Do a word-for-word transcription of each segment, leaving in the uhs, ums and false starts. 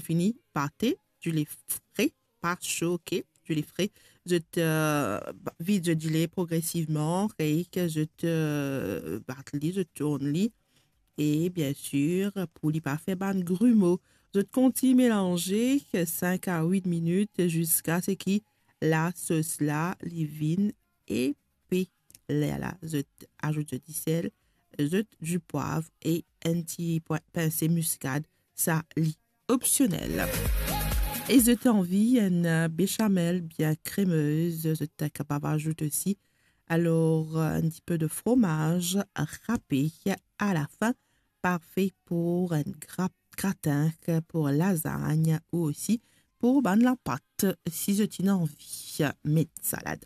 Fini pate, dile fre, pa so, ok, dile fre. Zot, euh, ba-, vid zot dile progresivman, rek zot, euh, bat li, zot tourn li. E bien sir, pou li pa fer bann grimo, zot kontign melanze sink a wit minit ziska seki lasos la li vinn epe. Lerla zot azout zot disel, zot dipwav e enn ti pwin-, pinse miskad, sa li opsionel. E zot anvi enn, euh, bechamel bien kremez, zot kapav azout osi, alor, euh, enn tipe de fromaz rape a la fin, parfe pou enn gra-, gratin, pou lazagn ou osi pou bann lapat, si zot ena anvi met salad.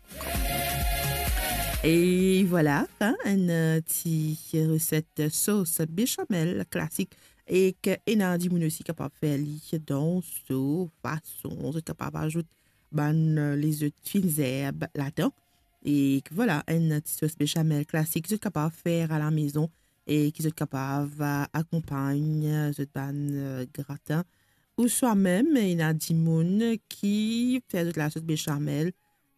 E vwala, hein, enn, euh, ti reset sos bechamel klasik. Ek ena dimoun osi kapav fer li dan so fason, zot kapav azout bann, euh, lezot finn zerb ladan. E vwala, enn ti sos bechamel klasik, zot kapav fer a la mezon e ki zot kapav, euh, akonpagn, euh, zot bann, euh, gratin. Ouswa mem, ena dimoun ki fer zot lasos bechamel,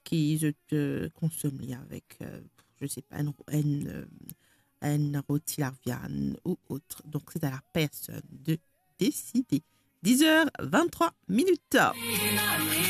ki zot, euh, konsom li avek, euh, je sais pas, enn, enn, euh, enn roti laviann ou ot. Donk, se a la personn de deside. Diz er vinn-trwa minit.